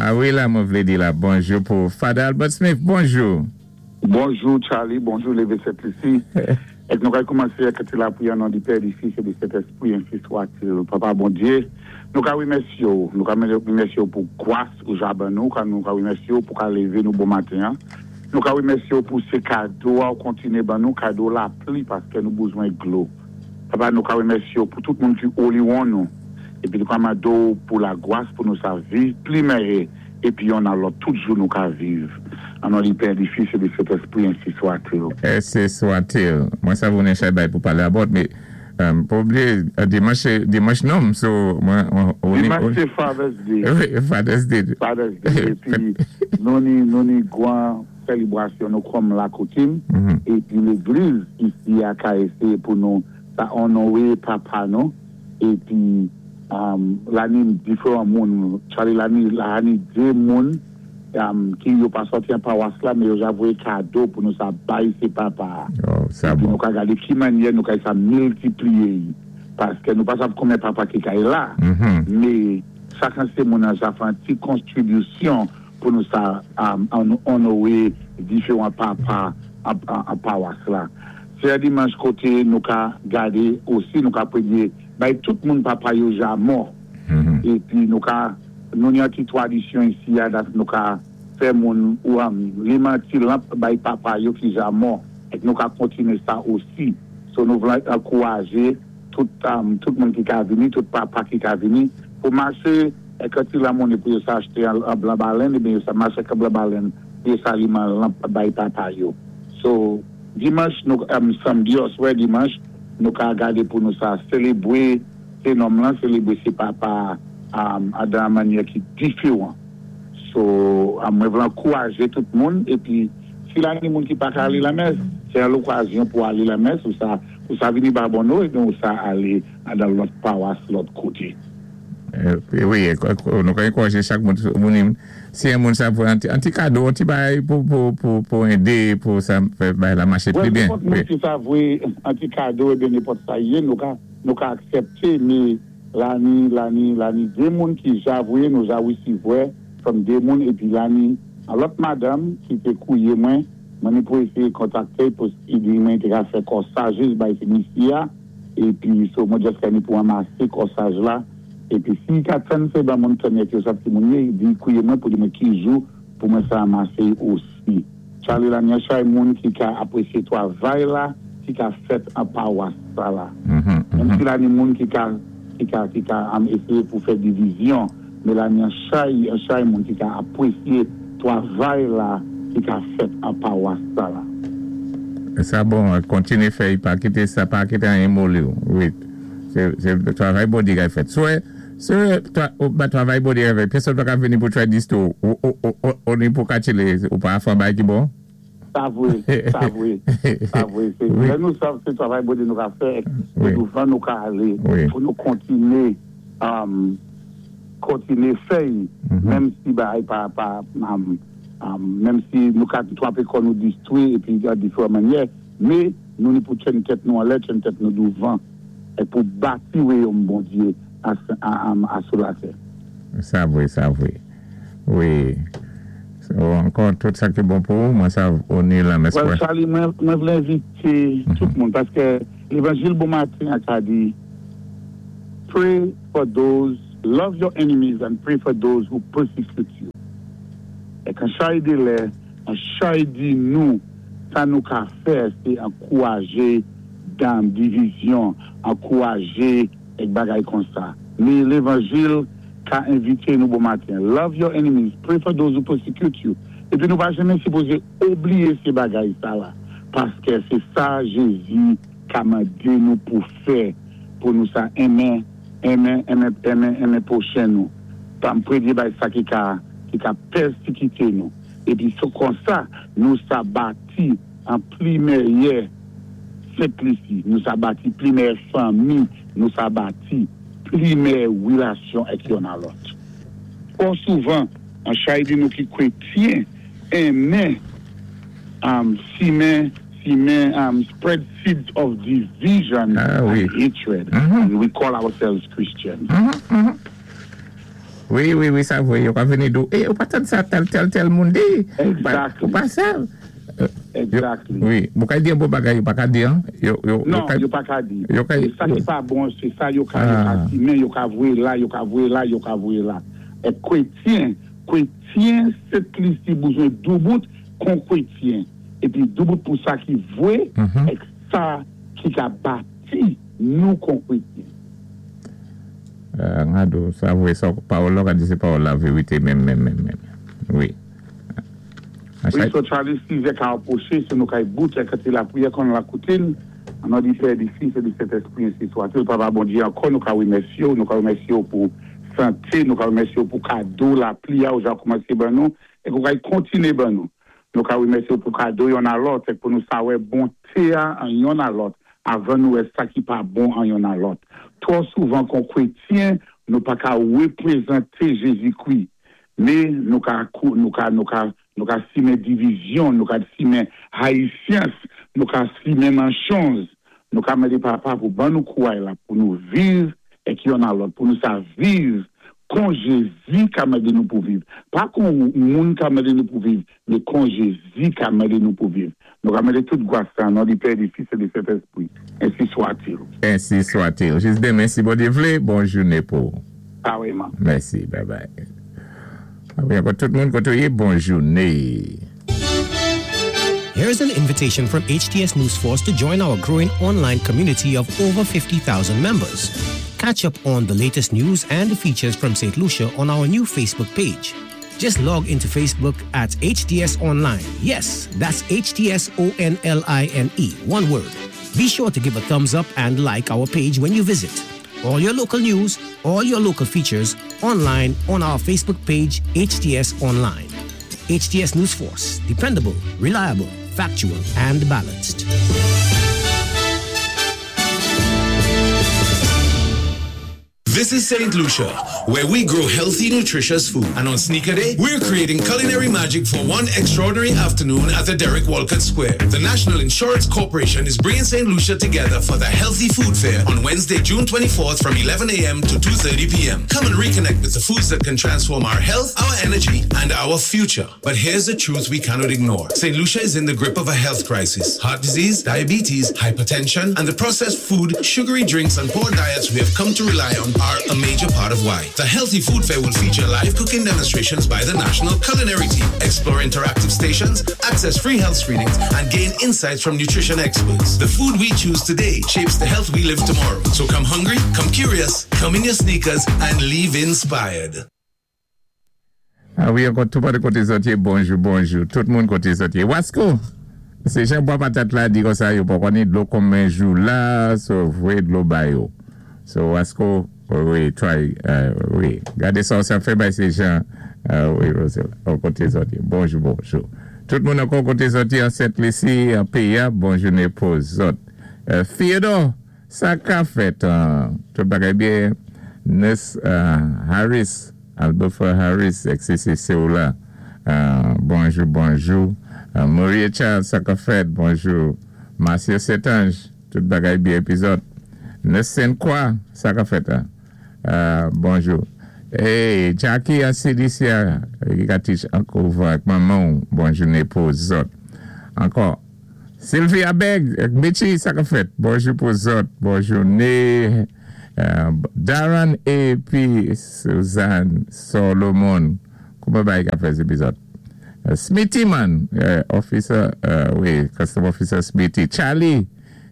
A wi la mwen vlé di la bonjou pou Father Albert Smith bonjou. Bonjou Charly, bonjou Leve Sent Lisi. Èk nou kay koumansé ak ti lapriyè o non di Pè, di Fis e di Sentèspri ensi swatil. Papa Bondye, nou ka remèsye w, nou ka remèsye w pou gwas ou ja ban nou, nou ka remèsye w pou ka leve nou bon maten an, nou ka remèsye w pou se kado a ou kontinye ban nou, kado lapli paskè nou bouzwen dlo. Papa nou ka remèsye w pou tout moun ki oliwon nou, epi nou ka mande w pou lagwas pou nou sa viv pli mèyè. Epi yonn a lòt tout jou nou ka viv. An non di Pè, di Fis e di Sentespri ensi swatil. Ensi swatil. Mwen savounen chay bay pou pale about me pa bliye dimanch se dimanch nonm so mwen Dimanch se Father's Day. Wi Father's Day. Father's Day epi nou ni nou ni gwan selibrasyon nou kòm lakoutim epi legliz isi a ka eseye pou nou sa onore papa nou. Epi la ni diferan moun Charly la ni la ni de moun ki yo pa sòti an pawas la men yo ja voye kado pou nou sa bay se papa a epi nou ka gade ki manyè nou kay sa miltipliye yi paske nou pa sav konbyen papa ki kay la me chak an se moun an ja fè an ti konstribisyon pou nou sa onore diferan papa an pawas la. Se yon dimanch kote nou ka gade osi nou ka premye bay tout moun papa yo ja mò epi nou ka nou gen yon ti tradisyon isi a dat nou ka fè moun ou liman ti lanp bay papa yo ki ja mò ek nou ka kontinye sa osi so nou vle ankouraje tout tout moun ki ka vini tout papa ki ka vini pou mache ek yon ti lanmoune pou yo sa achte an blan balenn ebyen yo sa mache ak an blan balenn pou yo sa liman lanp bay papa yo so. Dimanch nou samdi oswè dimanch nou ka gade pou nou sa selebwe se nonm lan selebre se papa a dan manyè ki diferan so mwen vle ankouraje tout moun epi si la ni moun ki paka ale lamès se yon lokazyon pou ale lamès ou sa ou sa vini babonno ebyen ou sa ale dan lòt pawas lòt kote. Wi nou ka ankouraje chak moun moun si yon moun sa voye an ti kado an ti bagay pou ede pou sa fè bagay la mache pi byen. Nenpòt moun ki sa voye an ti kado ebyen nenpòt sa ye nou ka nou ka aksepte me la ni la ni la ni de moun ki ja voye nou ja resevwè from de moun epi la ni an lòt madanm ki te kouye mwen mwen ni pou eseye kontakte pou di mwen te ka fè kòsajis bay se misi a. Epi so mwen just kani pou anmase kòsaj la epi si ka tann se ban moun tann yèk yo sap ki moun ye di kouye mwen pou di mwen ki jou pou mwen sa anmase osi Charly Lanier chay moun ki ka apresye twavay la ki ka fèt an pawas sa la menm si la ni moun ki ka ki ka ki ka am eseye pou fè divizyon Melanie an chay an chay moun ki ka apwesye twavay la ki ka fèt an pawas sa la. Sa bon kontinye fè y pa kite sa pa kite anyen moliw wi se se travay Bondye kap fèt swe se ba travay Bondye kap fèt pèsòn paka vini pou try distro ou ou ou ni pou katchele ou pa fè yon bagay ki bon. Sa vre sa vre sa vre se lè nou sav se travay Bondye nou ka fè se douvan nou ka ale pou nou kontinye. Kontinye fè y menm si bagay pa pa menm si nou ka twape kò nou distwi epi an diferan mannyè me nou ni pou tchenn tèt nou anlè tchenn tèt nou douvan e pou bati weyom Bondye a a sou latè. Sa vre sa vre wi so ankò tout sa ki bon pou ou mwen sa oni lanmès Well Charly mwen vle envite tout moun paske levanjil bon maten an ka di. Pray for those, love your enemies and pray for those who persecute you. Èk an chay de lè, an chay di nou sa nou ka fè se ankouraje dam divizyon, ankouraje èk bagay konsa. Me levanjil ka envite nou bon maten. Love your enemies, pray for those who persecute you. Epi nou pa janmen sipoze obliye se bagay sa la paskè se sa Jezi ka mande nou pou fè pou nou sa enmen enmen enmen enmen enmen pwochen nou pa m premye bay sa ki ka ki ka pèsikite nou epi se konsa nou sa bati an pli mèyè Sent Lisi nou sa bati pli mèyè fanmi nou sa bati pli mèyè relasyon èk yonn a lòt twò souvan an chay di nou ki kwetyen enmen simen simen spread seeds of division and hatred and we call ourselves Christians. Wi, sa vwé, yo ka vini di-w, "É, ou pa tann sa tèl, tèl, tèl moun di?" Ou pa sa. Wi, ou ka di yon bon bagay, yo pa ka di, an? Non, yo pa ka di. Sa ki pa bon, sé sa yo ka simen, yo ka voyé la, yo ka voyé la, yo ka voyé la. É kwétyen, kwétyen, Sent Lisi bouzwen doubout kon kwétyen. Épi doubout pou sa ki vwé, èk sa ki ka bati nou kon kwétyen. Ngado, sa vwé, sa pawòl la ou ka di sé pawòl la vérité menm menm menm menm. Wi. Wi, so Charlie sizè ka apwoché, so nou kay bout èk anté lapriyè kon lakoutin, an non di Pè, di Fis é di Sentèspri ensi swatil. Papa Bondyé, ankò nou ka remèsyé-w, nou ka remèsyé-w pou santé, nou ka remèsyé-w pou kado lapli a ou ja koumansé ban nou èk ou kay kontiné ban nou. Nou ka remèsyé-w pou kado yonn a lòt èk pou nou sa wè bonté a an yonn a lòt avan nou wè sa ki pa bon an yonn a lòt. Twò souvan kon kwétyen nou pa ka repwézanté Jézikwi. Mé nou ka nou ka nou ka nou ka simen divizyon, nou ka simen hayisyans, nou ka simen manchonz. Nou ka mandé Papa pou ban nou kouray la pou nou viv èk yonn a lòt, pou nou sa viv kon Jézi ka mandé nou pou viv. Pa kon moun ka mandé nou pou viv, mé kon Jézi ka mandé nou pou viv. Nou ka mandé tout gwas sa an non di Pè, di Fis é di Sentèspri. Ensi swatil. Ensi swatil. Jis denmen si Bondye vlé, bon jouné pou ou. Pareman. Mèsi, bye bye. Wi ankò tout moun koté ou yé, bon jouné. Here's an invitation from HTS News Force to join our growing online community of over 50,000 members. Catch up on the latest news and features from St. Lucia on our new Facebook page. Just log into Facebook at HTS Online. Yes, that's HTS O N L I N E, one word. Be sure to give a thumbs up and like our page when you visit. All your local news, all your local features online on our Facebook page, HTS Online. HTS News Force, dependable, reliable, factual, and balanced. This is St. Lucia, where we grow healthy, nutritious food. And on Sneaker Day, we're creating culinary magic for one extraordinary afternoon at the Derek Walcott Square. The National Insurance Corporation is bringing St. Lucia together for the Healthy Food Fair on Wednesday, June 24th from 11 a.m. to 2.30 p.m. Come and reconnect with the foods that can transform our health, our energy, and our future. But here's the truth we cannot ignore. St. Lucia is in the grip of a health crisis. Heart disease, diabetes, hypertension, and the processed food, sugary drinks, and poor diets we have come to rely on are a major part of why. The Healthy Food Fair will feature live cooking demonstrations by the National Culinary Team, explore interactive stations, access free health screenings, and gain insights from nutrition experts. The food we choose today shapes the health we live tomorrow. So come hungry, come curious, come in your sneakers, and leave inspired. A wi ankò tou pale koté zòt yé bonjou bonjou tout moun koté zòt yé wasko se jan bwa patat la di konsa yo pa konnen dlo konbyen jou la so voyé dlo ba yo so wasko wi try wi gade sa w sa fè bay se jan wi rosela koté zòt yé bonjou bonjou tout moun ankò koté zòt yé an sent lisi an peyi a bon jounen pou zòt Theodore sa ka fèt tout bagay byen nurse Harris Albofer Harris XCC ou la bonjou bonjou Morie Charles sa kap fèt bonjou Marcio Saint-Ange tout bagay byen epi zòt Nurse Sainte Croix sa kap fèt bonjou Hey Jacky an CDC a ki ka teach ankò ak manmanw bon jounen pou zòt ankò. Sylvia Beg ak Mitchy sa kap fèt bonjou pou zòt bon joune Darren epi Suzanne Solomon kouman bagay kap fèt epi zòt Smitty man officer wi custom officer Smitty Charlie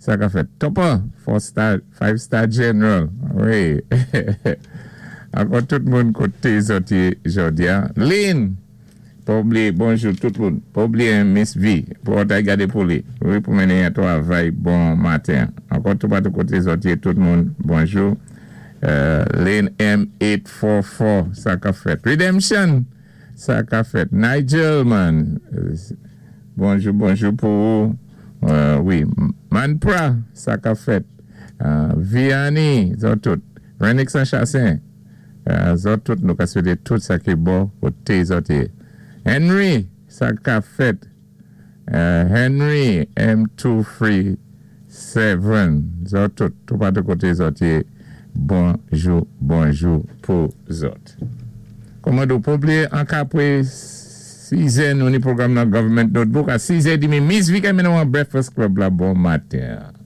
sa kap fèt Topper 4 star 5 star general wi ankò tout moun kote zòt ye jodia Lynn Pa oubliye bonjou tout moun pa oubliye miss V pou ou tay gade pou li wi pou mennen yon travay bon maten ankò toupatou kote zòt ye tout moun bonjou Lane M 844 sa kap fèt Redemption sa kap fèt Nigel man bonjou bonjou pou ou wi Manpra sa kap fèt Vianney zòt tout Renix an Chassin. Zòt tout nou ka swete tout sa ki bon kote zòt ye Henry sa ka fèt Henry M 2 3 7 zòt tout toupatou kote zòt ye bonjou bonjou pou zòt. Kòman di w, pa bliye ank apwé 6 zè nou ni pwogram nan Government Notebook a 6 zè dimi Miss Vicky mennen w an Breakfast Club la bon maten.